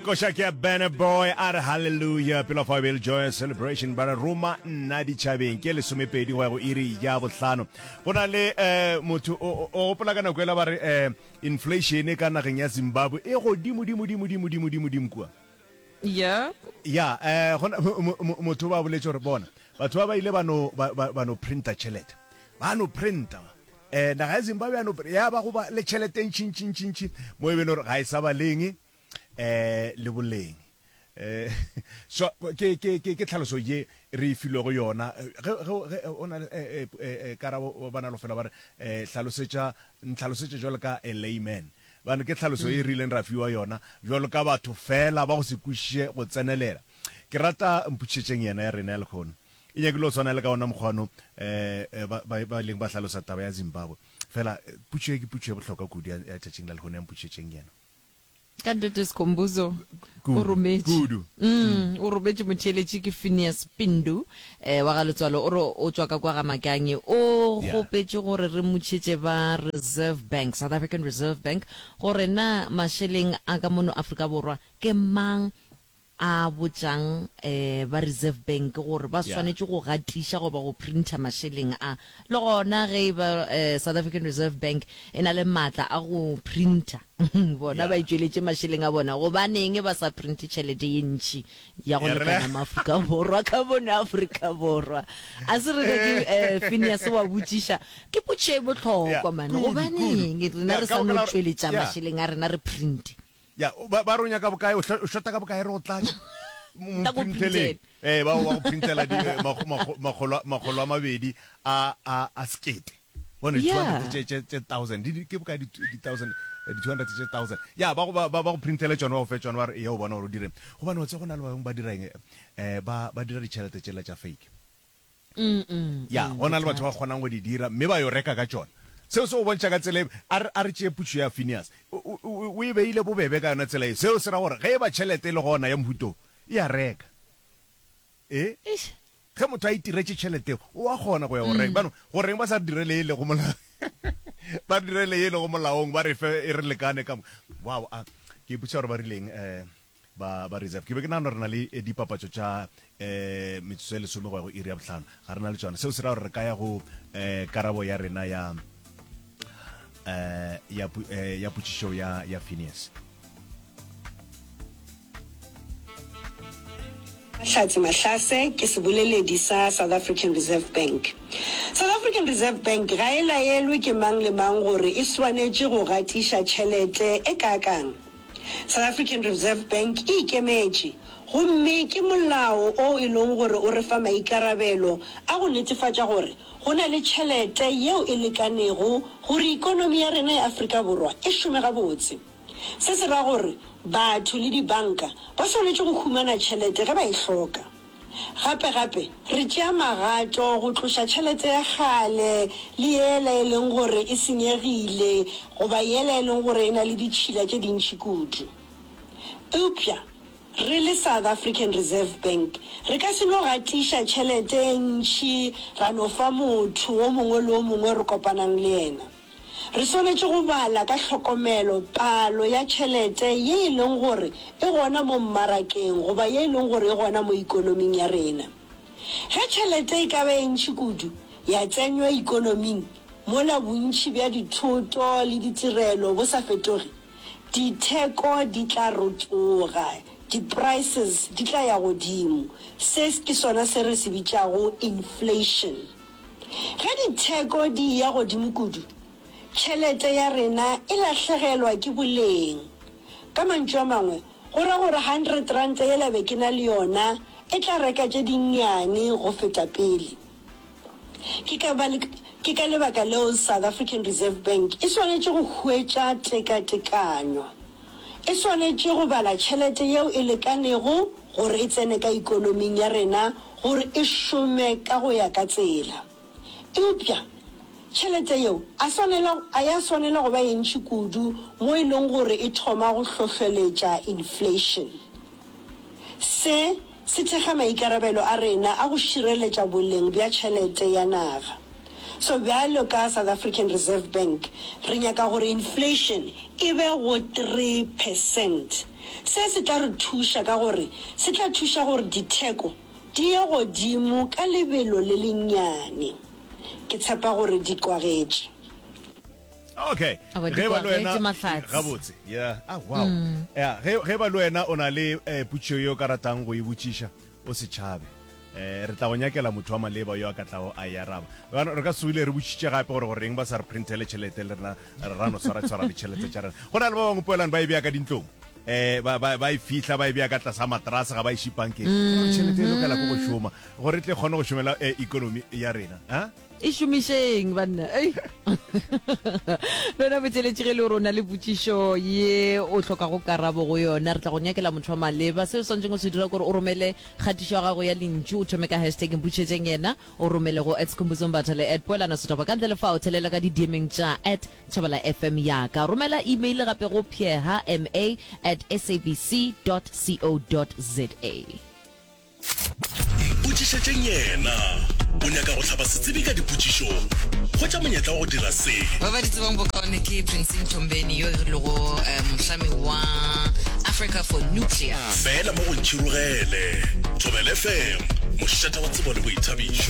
Koša ke ya Burna Boy a re hallelujah pelo fa be joy celebration ba re roma nna ditšhabeng ke lesomepedi go ya go iri ya bohlano go na le um motho o gopola ka nako ela ba re um inflation ka nageng ya Zimbabwe e godimo dimo dimo dimo dimo dimo dimo kua ya ya um motho ba boletše gore bona batho ba ba ile ba no ba no printa tšhelete ba no printa Eh, naga ya Zimbabwe ya no ya ba go ba le tšhelete ntši ntši ntši ntši mo e be le gore ga e sa ba leng eh le boleng. Eh, so ke ke ke ke tlhaloso ye re e filwego yona ge ge ge o na le eh, eh, eh, karabo ba na le fela ba re eh, hlalosetša ntlhalosetše jwalo ka a layman bane ke tlhaloso e re ileng ra fiwa yona jwalo ka batho fela ba go se kwešiše go tsenelela. Ke rata mpotšišetšeng yena ya rena ya lekgono. E nyakile go swana le ka ona mokgwa no um ba, ba, ba ileng ba hlalosa taba ya Zimbabwe. Fela putšo ye ke putšo ye bohlokwa kudu ya, ya tšatšing la lehono ya mpotšišetšeng yena. Ka nnete Skhumbuzo o Kudu, rometše. kudu. Mm, o rometše motheeletši ke Phineas Pindu eh, wa ga Letswalo o re o tšwa ka kwa ga Makange o Yeah. kgopetše gore re motšhetše ba Reserve Bank, South African Reserve Bank gore na mašeleng a ka mono Afrika Borwa ke mang a botšang ba Reserve Bank gore ba swanetše go gatiša goba go printha mašeleng a. Le gona ge e ba South African Reserve Bank e na le maatla a go printha, bona ba itšweletše mašeleng a bona, gobaneng ba sa printhe tšhelete ye ntši ya go lekana maAfrika Borwa ka mono Afrika Borwa? A se re ke Phineas wa botšiša, ke potšišo e bohlokwa man, gobaneng rena re sa no tšweletša mašeleng a rena re printe? Ya, ba, ba re o nyaka bokae, o hlo- o shota ka bokae re go tlatše. Mo Tla go printeleng. printele. Eh, ba ba go printela di eh, makgo- makgo- makgolo a- makgolo a mabedi a a a sekete. Bone di Yeah. 200 tše tše tše 1000 di di- ke bokae di di 1000 eh, di 200 tše 1000. Ya, ba go ba ba ba go printele tšona ba go fe tšona ba re eya o bona gore o direng. Gobane wa tseba go na le ba bangwe ba dira eng eh ba ba dira ditšhelete tšela tša fake. Ya, go na le batho ba kgonang go di dira mme ba yo reka ka tšona. Seo se go bontšha ka tsela e, a re, a re tšee putšo ya Phineas. O, o, o e beile bobebe ka yona tsela ye. Seo se ra gore ge e ba tšhelete e le gona ya mohuta wo, e a reka. E? Ge motho a itiretše tšhelete, o a kgona go ya go reka. Bjano, goreng ba sa re direle ye e lego mola, ba re direle ye e lego molaong, ba re fe e re lekane ka moka. Wow, a, ke ipotšiša gore ba rileng. Eh, ba ba reserve. Ke be ke nagana gore re na le eh, dipapatšo tša eh, metsotso e lesome go ya go iri ya bohlano. Ga re na le tšona. Seo se ra gore re ka ya go eh, karabo ya rena ya eh, ya, eh, ya potšišo ya, ya Phineas. Mahlatse Mahlase ke seboleledi sa South African Reserve Bank. South African Reserve Bank ga e laelwe ke mang le mang gore e swanetše go gatiša tšhelete e kaakang. South African Reserve Bank e ikemetše gomme ke molao o e leng gore o re fa maikarabelo a go netefatša gore go na le tšhelete yeo e lekanego gore ikonomi ya rena ya Afrika Borwa e šome gabotse. Se se ra gore batho le dibanka ba swanetše go humana tšhelete ge ba e hloka. Gape gape, re tšea magato go tloša tšhelete ya kgale le yela e leng gore e senyegile goba yela e leng gore e na le ditšhila tše dintši kudu. Eupša re le South African Reserve Bank re ka se no gatiša tšhelete e ntši ra no fa motho o mongwe le o mongwe re kopanang le yena. Re swanetše go bala ka hlokomelo palo ya tšhelete ye e leng gore e gona mo mmarakeng goba ye e leng gore e gona mo ikonoming ya rena. Ge tšhelete e ka ba e ntši kudu ya tsenywa ikonoming mola bontši bja dithoto le ditirelo bo sa fetoge, ditheko di tla rotoga, di-prices di tla ya godimo. Se ke sona se re se bitšago inflation. Ge ditheko di eya godimo kudu, tšhelete ya rena e lahlegelwa ke boleng. Ka mantšu a mangwe, go ra gore hundred ranta yela be ke na le yona e tla reka tše dinnyane go feta pele. Ke ka Ke ka lebaka leo South African Reserve Bank e swanetše go hwetša tekatekanyo. E swanetše go bala tšhelete yeo e lekanego gore e tsene ka ikonoming ya rena gore e šome ka go ya ka tsela. Eupša tšhelete yeo a swanela a ya swanela go ba ye ntši kudu mo e leng gore e thoma go hlohleletša inflation. Se se thekga maikarabelo a rena a go šireletša boleng bja tšhelete ya naga. So bjalo ka South African Reserve Bank re nyaka gore inflation e be go 3%. Se se tla re thuša ka gore se tla thuša gore ditheko di ye godimo ka lebelo le lennyane. Ke tshepa gore di kwagetše. Okay. Aowa, di Ge ba le wena kwagetše, Mahlatse. gabotse. Yeah. Ah, wow. Yeah, ge ge ba le wena o na le eh, potšišo ye o ka ratang go e botšiša, o se tšhabe. Eh, re tla go nyakela motho wa maleba yo a ka tlago a e araba. Bjano re ka se tsogile re botšišitše gape gore goreng ba sa re printele tšhelete le rena ra no swara tshwara ditšhelete tša rena. Go na le ba bangwe poelano ba e bea ka dintlong. Eh, ba, ba, ba e fihla ba e bea ka tlasa matrase ga ba e iše bankeng. Gore Tšhelete e lokela ke go šoma gore e tle e kgone go šomela eh, economy ya rena. Ha? E šomišeng banna. Ei. Lona botšeletši ge e le gore o na le potšišo ye o hlokago karabo go yona, re tla go nyakela motho wa maleba. Se o swanetšeng go se dira ke gore o romele kgatišo ya gago ya lentšu, o thome ka hashtag mpotšišetšeng yena, o romele go at Skhumbuzo Mbatha le at Poelano Sethopa. Ka ntle le fao, thelela ka di-DM-eng tša at Thobela FM ya ka. Romela email gape go pheha ma at sabc dot co dot za. Mpotšišetšeng yena. O nyaka go hlaba setsebi ka dipotšišo? Hwetša monyetla wa go dira se. Ba ba di tsebang bokaone ke Prince Mthombeni yo e lego mohlami wa Africa for Nuclear. Fela mo go Ntšhirogele. Thobela FM, mošate wa tsebo le boithabišo.